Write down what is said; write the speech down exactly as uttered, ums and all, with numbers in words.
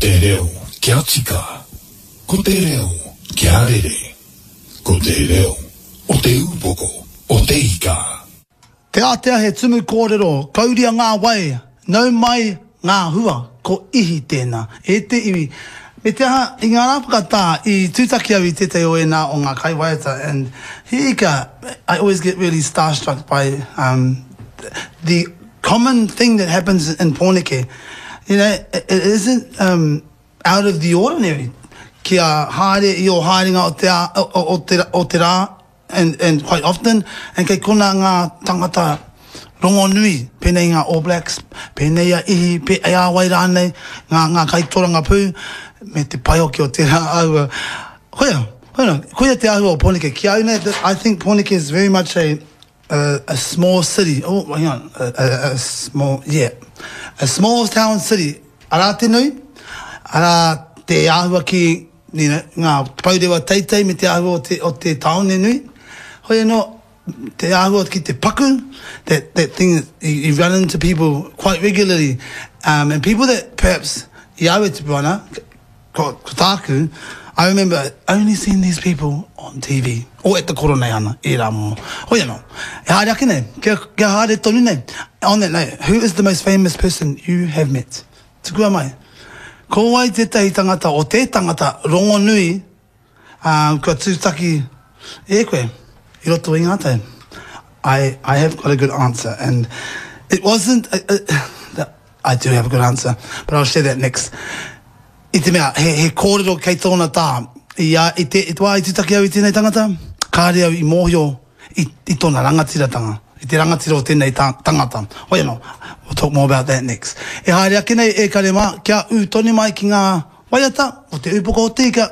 te reo kia tika. Ko te reo kia rere. Ko te reo o te upoko o te ika. Te ātea he tumu kōrero, kauria ngā wai, nau mai ngā hua, ko ihi tēnā. E te iwi. Me te aha, i ngā rā whakatā, i tūtaki au i tētahi o ēnā o ngā kaiwaiata, and hika, I always get really starstruck by um, the common thing that happens in Pōneke. You know, it, it isn't um, out of the ordinary kia haere i o haerenga o te, a, o, o, te, o te rā, and, and quite often, and kei kona ngā tangata rongonui, pēnei ngā All Blacks, pēnei a Ihi, pē, a wai rānei, ngā, ngā kaitoranga pū, me te pai hoki o tērā āhua. Koia, koia, koia te āhua o Pōneke. Ki au nei, I think Pōneke is very much a, a, a small city. Oh, hang on, a, a, a small, yeah. A small town city. Arā te nui, arā te āhua ki, you know, ngā pourewa teitei me te āhua o te, o te tāone nui. Hoi anō, te āhua ki te paku, that, that thing, you, you run into people quite regularly. Um, and people that perhaps, i au e tupu ana, ko, ko tāku, I remember only seeing these people on T V or at the Koroneihana, e rā momo. Hoi anō, e haere ake nei, kia, kia haere tonu nei. On that note, who is the most famous person you have met? Tukua mai. Ko wai tētahi tangata o te tangata rongonui um, kua tūtaki e koe i roto i ngā tau? I, I have got a good answer, and it wasn't... Uh, uh, I do have a good answer, but I'll share that next. I te mea, he, he kōrero kei tōna tā. I, a, i, te, i te wā i tūtaki au i tēnei tangata, kāre au i mōhio i, i tōna rangatiratanga, i te rangatira o tēnei ta, tangata. Hoi anō, we'll talk more about that next. E haere ake nei e kare mā, kia ū tonu mai ki ngā waiata o te upoko o te ika.